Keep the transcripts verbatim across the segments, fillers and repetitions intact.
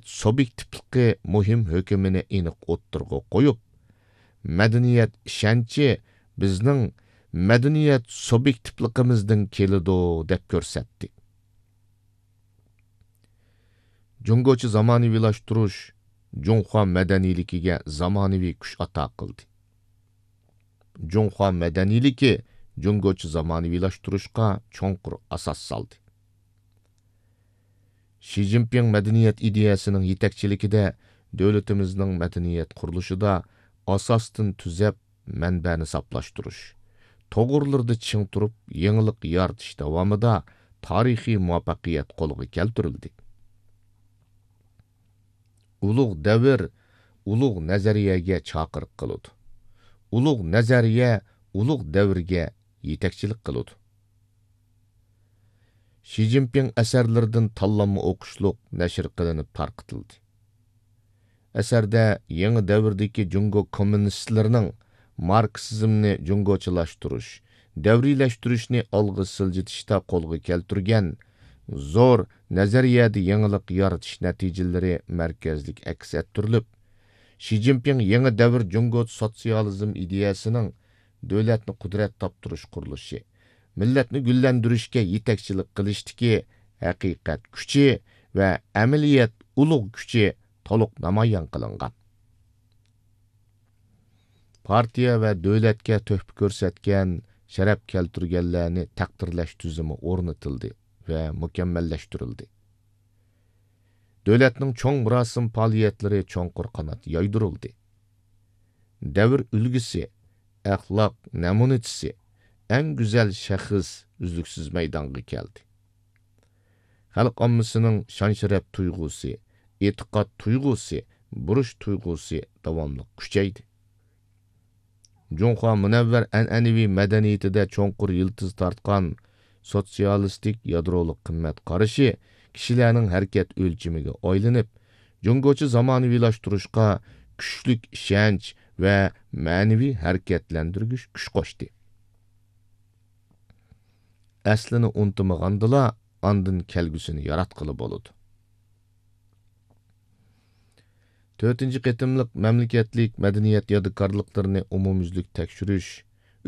سۇبيېكتىپلىقى مۇھىم ھۆكۈمىنى ئېنىق ئوتتۇرىغا قويۇپ، مەدەنىيەت ئىشەنچى بىزنىڭ مەدەنىيەت سۇبيېكتىپلىقىمىزدىن كېلىدۇ، دەپ كۆرسەتتى. جۇڭگوچە زامانىۋىلاشتۇرۇش جۇڭخۇا مەدەنىيلىكىگە زامانىۋى كۈچ ئاتا قىلدى. جۇڭخۇا مەدەنىيلىكى جۇڭگوچە زامانىۋىلاشتۇرۇشقا چوڭقۇر ئاساس سالدى. شى جىنپىڭ مەدەنىيەت ئىدىيەسىنىڭ يېتەكچىلىكىدە دۆلىتىمىزنىڭ مەدەنىيەت قۇرۇلۇشىدا ئاساستىن تۈزەپ، مەنبەنى ساپلاشتۇرۇش، توغرىلىرىدا چىڭ تۇرۇپ، يېڭىلىق يارىتىش داۋامىدا تارىخىي مۇۋەپپەقىيەت قولغا كەلتۈرۈلدى. ئۇلۇغ دەۋر ئۇلۇغ نەزەرىيەگە چاقىرىق قىلىدۇ. ئۇلۇغ نەزەرىيە ئۇلۇغ دەۋرگە يېتەكچىلىك قىلىدۇ. شى جىنپىڭ ئەسەرلىرىدىن تاللانما ئوقۇشلۇق نەشر قىلىنىپ تارقىتىلدى. ئەسەردە يېڭى دەۋردىكى جۇڭگو كوممۇنىستلىرىنىڭ ماركسىزمنى جۇڭگوچىلاشتۇرۇش، دەۋرىيلەشتۈرۈشنى ئالغا سىلجىتىشتا قولغا كەلتۈرگەن زور نەزەرىيەدە يېڭىلىق يارىتىش نەتىجىلىرى مەركەزلىك ئەكس ئەتتۈرۈلۈپ، شى جىنپىڭ يېڭى دەۋر جۇڭگو سوتسىيالىزم ئىدىيەسىنىڭ دۆلەتنى قۇدرەت تاپتۇرۇش قۇرۇلۇشى، مىللەتنى گۈللەندۈرۈشكە يېتەكچىلىك قىلىشتىكى ھەقىقەت كۈچى ۋە ئەمەلىيەت ئۇلۇغ كۈچى تولۇق نامايان قىلىنغان. پارتىيە ۋە دۆلەتكە تۆھپە كۆرسەتكەن، شەرەپ كەلتۈرگەنلەرنى تەقدىرلەش تۈزۈمى ئورنىتىلدى ۋە مۇكەممەللەشتۈرۈلدى. دۆلەتنىڭ چوڭ مۇراسىم پائالىيەتلىرى چوڭقۇر قانات يايدۇرۇلدى. دەۋر ئۈلگىسى، ئەخلاق نەمۇنىچىسى، ئەڭ گۈزەل شەخس ئۈزلۈكسىز مەيدانغا كەلدى. خەلق ئاممىسىنىڭ شان-شەرەپ تۇيغۇسى، ئېتىقاد تۇيغۇسى، بۇرچ تۇيغۇسى داۋاملىق كۈچەيدى. جۇڭخۇا مۇنەۋۋەر ئەنئەنىۋى مەدەنىيىتىدە چوڭقۇر يىلتىز تارتقان سوتسىيالىستىك يادرولۇق قىممەت قارىشى كىشىلەرنىڭ ھەرىكەت ئۆلچىمىگە ئايلىنىپ، جۇڭگوچە زامانىۋىلاشتۇرۇشقا كۈچلۈك ئىشەنچ ۋە مەنىۋى ھەرىكەتلەندۈرگۈچ كۈچ قوشتى. ئەسلىنى ئۇنتۇمىغاندىلا، ئاندىن كەلگۈسىنى ياراتقىلى بولىدۇ. تۆتىنچى قېتىملىق مەملىكەتلىك مەدەنىيەت يادىكارلىقلىرىنى ئومۇميۈزلۈك تەكشۈرۈش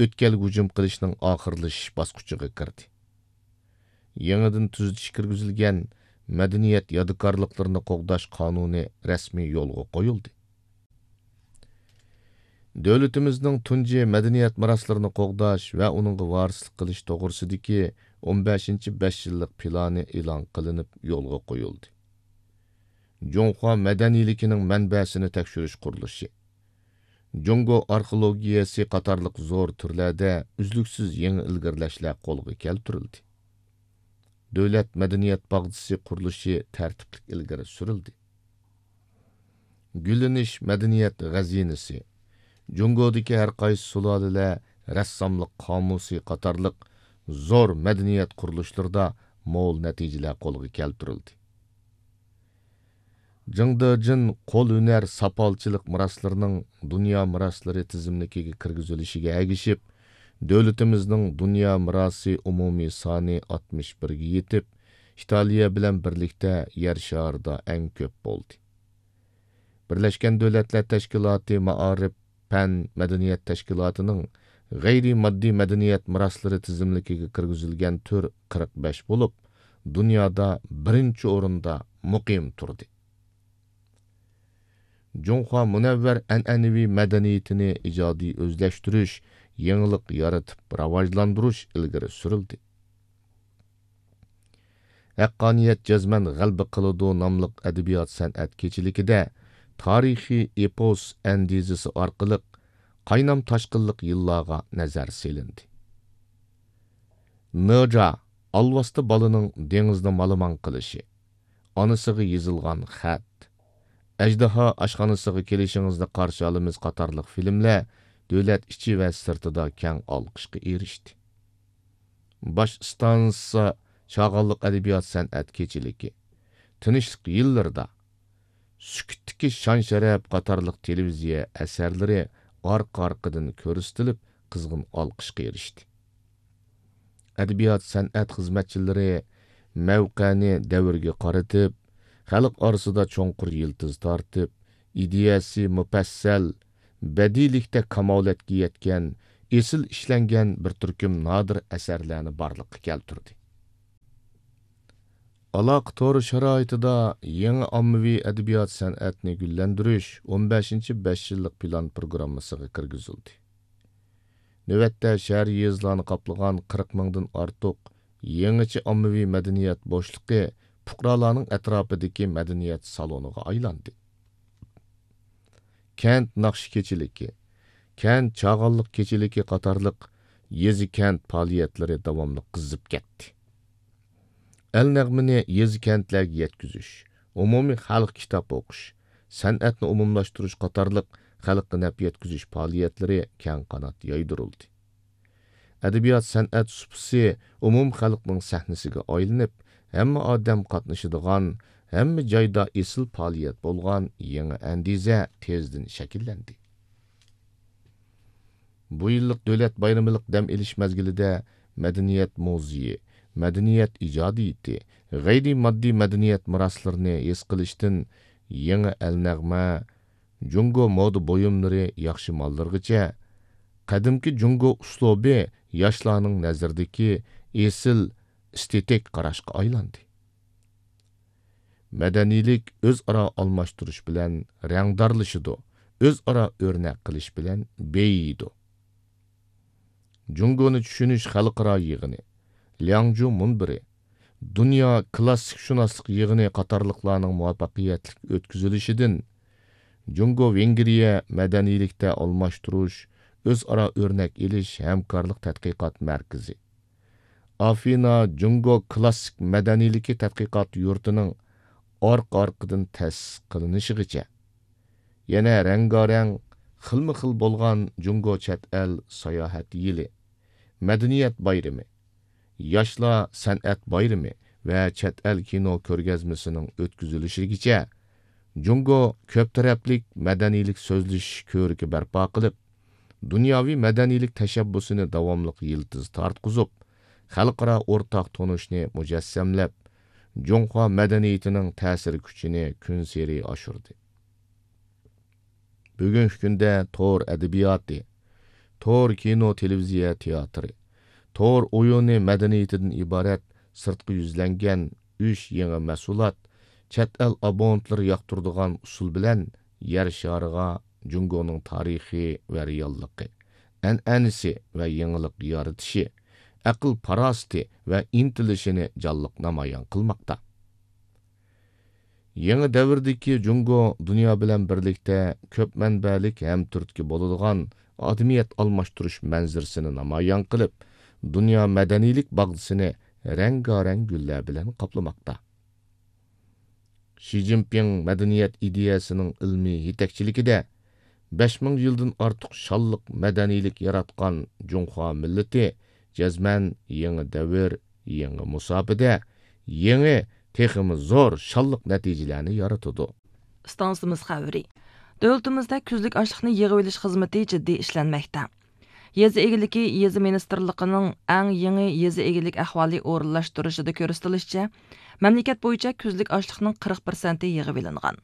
ئۆتكەلگە ھۇجۇم قىلىشنىڭ ئاخىرلىشىش باسقۇچىغا كىردى. يېڭىدىن تۈزىتىش كىرگۈزۈلگەن مەدەنىيەت يادىكارلىقلىرىنى قوغداش قانۇنى رەسمىي يولغا قويۇلدى. دۆلىتىمىزنىڭ تۇنجى مەدەنىيەت مىراسلىرىنى قوغداش ۋە ئۇنىڭغا ۋارىسلىق قىلىش توغرىسىدىكى ئون بەشىنچى بەش يىللىق پىلانى ئېلان قىلىنىپ يولغا قويۇلدى. جۇڭخۇا مەدەنىيلىكىنىڭ مەنبەسىنى تەكشۈرۈش قۇرۇلۇشى، جۇڭگو ئارخېئولوگىيەسى قاتارلىق زور تۈرلەردە ئۈزلۈكسىز يېڭى ئىلگىرىلەشلەر قولغا كەلتۈرۈلدى. دۆلەت مەدەنىيەت باغچىسى قۇرۇلۇشى تەرتىپلىك ئىلگىرى سۈرۈلدى. گۈللىنىش مەدەنىيەت غەزىنىسى، جۇڭگودىكى ھەر قايسى سۇلالىلەر رەسساملىق قامۇسى قاتارلىق زور مەدەنىيەت قۇرۇلۇشلىرىدا مول نەتىجىلەر قولغا كەلتۈرۈلدى. جىڭدېجىن قول ھۈنەر ساپالچىلىق مىراسلىرىنىڭ دۇنيا مىراسلىرى تىزىملىكىگە كىرگۈزۈلۈشىگە ئەگىشىپ، دۆلىتىمىزنىڭ دۇنيا مىراسى ئومۇمىي سانى ئاتمىش بىرگە يېتىپ، ئىتالىيە بىلەن بىرلىكتە يەر شارىدا ئەڭ كۆپ بولدى. بىرلەشكەن دۆلەتلەر تەشكىلاتى مائارىپ، پەن، مەدەنىيەت تەشكىلاتىنىڭ غەيرىي ماددىي مەدەنىيەت مىراسلىرى تىزىملىكىگە كىرگۈزۈلگەن تۈر قىرىق بەش بولۇپ، دۇنيادا بىرىنچى ئورۇندا مۇقىم تۇردى. جۇڭخۇا مۇنەۋۋەر ئەنئەنىۋى مەدەنىيىتىنى ئىجادىي ئۆزلەشتۈرۈش، يېڭىلىق يارىتىپ راۋاجلاندۇرۇش ئىلگىرى سۈرۈلدى. ھەققانىيەت جەزمەن غەلىبە قىلىدۇ ناملىق ئەدەبىيات سەنئەت كېچىلىكىدە تارىخىي ئېپوس ئەندىزىسى ئارقىلىق قاينام تاشقىنلىق يىللارغا نەزەر سېلىندى. نېجا، ئالۋاستى بالىنىڭ دېڭىزدا مالىمان قىلىشى، ئانىسىغا يېزىلغان خەت، ئەجدىھا ئاشخانىسىغا كېلىشىڭىزنى قارشى ئالىمىز قاتارلىق فىلىملەر دۆلەت ئىچى ۋە سىرتىدا كەڭ ئالقىشقا ئېرىشتى. باش ئىستانسا چاغانلىق ئەدەبىيات سەنئەت كېچىلىكى، تىنچلىق يىللىرىدا، سۈكۈتتىكى شان-شەرەپ قاتارلىق تېلېۋىزىيە ئەسەرلىرى ئارقا-ئارقىدىن كۆرسىتىلىپ، قىزغىن ئالقىشقا ئېرىشتى. ئەدەبىيات سەنئەت خىزمەتچىلىرى مەۋقەنى دەۋرگە قارىتىپ، خەلق ئارىسىدا چوڭقۇر يىلتىز تارتىپ، ئىدىيەسى مۇپەسسەل، بەدىئىيلىكتە كامالەتكە يەتكەن، ئېسىل ئىشلەنگەن بىر تۈركۈم نادىر ئەسەرلەرنى بارلىققا كەلتۈردى. ئالاقە تورى شارائىتىدا يېڭى ئاممىۋى ئەدەبىيات سەنئەتنى گۈللەندۈرۈش ئون بەشىنچى بەش يىللىق پىلان پروگراممىسىغا كىرگۈزۈلدى. نۆۋەتتە شەھەر، يېزىلارنى قاپلىغان قىرىق مىڭدىن ئارتۇق يېڭىچە ئاممىۋى مەدەنىيەت بوشلۇقى پۇقرالارنىڭ ئەتراپىدىكى مەدەنىيەت سالونىغا ئايلاندى. كەنت ناخشا كېچىلىكى، كەنت چاغانلىق كېچىلىكى قاتارلىق يېزا، كەنت پائالىيەتلىرى داۋاملىق قىزىپ كەتتى. ئەل نەغمىنى يېزا، كەنتلەرگە يەتكۈزۈش، ئومۇمىي خەلق كىتاب ئوقۇش، سەنئەتنى ئومۇملاشتۇرۇش قاتارلىق خەلققە نەپ يەتكۈزۈش پائالىيەتلىرى كەڭ قانات يايدۇرۇلدى. ئەدەبىيات سەنئەت سۇپىسى ئومۇم خەلقنىڭ سەھنىسىگە ئايلىنىپ، ھەممە ئادەم قاتنىشىدىغان، ھەممە جايدا ئېسىل پائالىيەت بولغان يېڭى ئەندىزە تېزدىن شەكىللەندى. بۇ يىللىق دۆلەت بايرىمىلىق دەم ئېلىش مەزگىلىدە مەدەنىيەت مۇزېيى، مەدەنىيەت ئىجادىيىتى، غەيرىي ماددىي مەدەنىيەت مىراسلىرىنى ھېس قىلىشتىن يېڭى ئەلنەغمە، جۇڭگو مودا بۇيۇملىرى ياخشى ماللىرىغىچە، قەدىمكى جۇڭگو ئۇسلۇبى ياشلارنىڭ نەزىرىدىكى ئېسىل ئېستېتىك قاراشقا ئايلاندى. مەدەنىيلىك ئۆزئارا ئالماشتۇرۇش بىلەن رەڭدارلىشىدۇ، ئۆزئارا ئۆرنەك قىلىش بىلەن بېيىيدۇ. جۇڭگونى چۈشىنىش خەلقئارا يىغىنى، لياڭجۇ مۇنبىرى، دۇنيا كىلاسسىكشۇناسلىق يىغىنى قاتارلىقلارنىڭ مۇۋەپپەقىيەتلىك ئۆتكۈزۈلۈشىدىن جۇڭگو ۋېنگرىيە مەدەنىيلىكتە ئالماشتۇرۇش، ئۆزئارا ئۆرنەك ئېلىش ھەمكارلىق تەتقىقات مەركىزى، ئافىنا جۇڭگو كىلاسسىك مەدەنىيلىكى تەتقىقات يۇرتىنىڭ ئارقا-ئارقىدىن تەسىس قىلىنىشىغىچە، يەنە رەڭگارەڭ، خىلمۇ خىل بولغان جۇڭگو چەت ئەل ساياھەت يىلى، مەدەنىيەت بايرىمى، ياشلار سەنئەت بايرىمى ۋە چەت ئەل كىنو كۆرگەزمىسىنىڭ ئۆتكۈزۈلۈشىگىچە، جۇڭگو كۆپ تەرەپلىك مەدەنىيلىك سۆزلىشىش كۆرىكى بەرپا قىلىپ، دۇنياۋى مەدەنىيلىك تەشەببۇسىنى داۋاملىق يىلتىز تارتقۇزۇپ، خەلقئارا ئورتاق تونۇشنى مۇجەسسەملەپ، جۇڭخۇا مەدەنىيىتىنىڭ تەسىر كۈچىنى كۈنسېرى ئاشۇردى. بۈگۈنكى كۈندە تور ئەدەبىياتى، تور كىنو، تېلېۋىزىيە، تىياتىرى، تور ئويۇنى مەدەنىيىتىدىن ئىبارەت سىرتقا يۈزلەنگەن ئۈچ يېڭى مەھسۇلات، چەت ئەل ئابونېنتلىرى ياقتۇرىدىغان ئۇسۇل بىلەن يەر شارىغا جۇڭگونىڭ تارىخى ۋە رېئاللىقى، ئەنئەنىسى ۋە يېڭىلىق يارىتىشى، ئەقىل-پاراسىتى ۋە ئىنتىلىشىنى جانلىق نامايان قىلماقتا. يېڭى دەۋردىكى جۇڭگو دۇنيا بىلەن بىرلىكتە كۆپ مەنبەلىك ھەم تۈرتكە بولىدىغان ئادىمىيەت ئالماشتۇرۇش مەنزىرىسىنى نامايان قىلىپ، دۇنيا مەدەنىيلىك باغدىسىنى رەڭگارەڭ گۈللەر بىلەن قاپلىماقتا. شى جىنپىڭ مەدەنىيەت ئىدىيەسىنىڭ ئىلمىي يېتەكچىلىكىدە بەش مىڭ يىلدىن ئارتۇق شانلىق مەدەنىيلىك ياراتقان جۇڭخۇا مىللىتى جەزمەن يېڭى دەۋر، يېڭى مۇساپىدە، يېڭى، تېخىمۇ زور شانلىق نەتىجىلەرنى يارىتىدۇ. ئىستانسىمىز خەۋىرى. دۆلىتىمىزدە كۈزلۈك ئاشلىقنى يىغىۋېلىش خىزمىتى جىددىي ئىشلەنمەكتە. يېزا ئىگىلىكى، يېزا مىنىستىرلىقىنىڭ ئەڭ يېڭى يېزا ئىگىلىك ئەھۋالى ئورۇنلاشتۇرۇشىدا كۆرسىتىلىشىچە، مەملىكەت بويىچە كۈزلۈك ئاشلىقنىڭ قىرىق پىرسەنتى يىغىۋېلىنغان.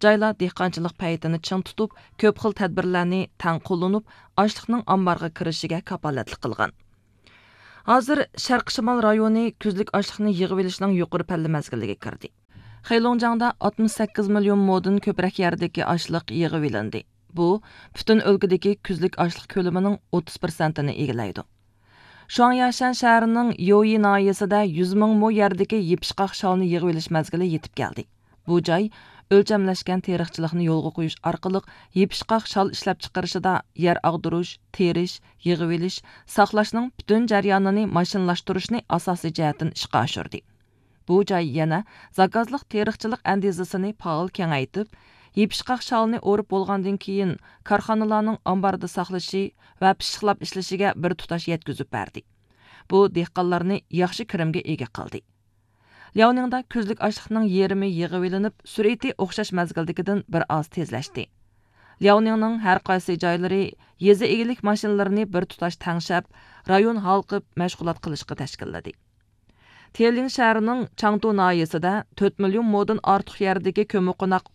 جايلار دېھقانچىلىق پەيتىنى چىڭ تۇتۇپ، كۆپ خىل تەدبىرلەرنى تەڭ قوللىنىپ، ئاشلىقنىڭ ئامبارغا كىرىشىگە كاپالەتلىك قىلغان. ھازىر شەرقىي شىمال رايونى كۈزلۈك ئاشلىقنى يىغىۋېلىشنىڭ يۇقىرى پەللە مەزگىلىگە كىردى. خېيلوڭجياڭدا ئاتمىش سەككىز مىليون مودىن كۆپرەك يەردىكى ئاشلىق يىغىۋېلىندى. بۇ پۈتۈن ئۆلكىدىكى كۈزلۈك ئاشلىق كۆلىمىنىڭ ئوتتۇز پىرسەنتىنى ئىگىلەيدۇ. شۇاڭياشەن شەھىرىنىڭ يويى ناھىيەسىدە يۈز مىڭ مو يەردىكى يېپىشقاق شالنى يىغىۋېلىش مەزگىلى يېتىپ كەلدى. بۇ جاي ئۆلچەملەشكەن تېرىقچىلىقنى يولغا قويۇش ئارقىلىق يېپىشقاق شال ئىشلەپچىقىرىشىدا يەر ئاغدۇرۇش، تېرىش، يىغىۋېلىش، ساقلاشنىڭ پۈتۈن جەريانىنى ماشىنىلاشتۇرۇشنى ئاساسىي جەھەتتىن ئىشقا ئاشۇردى. بۇ جاي يەنە زاكازلىق تېرىقچىلىق ئەندىزىسىنى پائال كېڭەيتىپ، يېپىشقاق شالنى ئورۇپ بولغاندىن كېيىن، كارخانىلارنىڭ ئامباردا ساقلىشى ۋە پىششىقلاپ ئىشلىشىگە بىر تۇتاش يەتكۈزۈپ بەردى. بۇ دېھقانلارنى ياخشى كىرىمگە ئىگە قىلدى. لياۋنىڭدا كۈزلۈك ئاشلىقنىڭ يېرىمى يىغىۋېلىنىپ، سۈرئىتى ئوخشاش مەزگىلدىكىدىن بىر ئاز تېزلەشتى. لياۋنىڭنىڭ ھەر قايسى جايلىرى يېزا ئىگىلىك ماشىنىلىرىنى بىر تۇتاش تەڭشەپ، رايون ھالقىپ مەشغۇلات قىلىشقا تەشكىللىدى. تيېنلىن شەھىرىنىڭ چاڭتۇ ناھىيەسىدە تۆت مىليون مودىن ئارتۇق يەردىكى كۆممىقوناق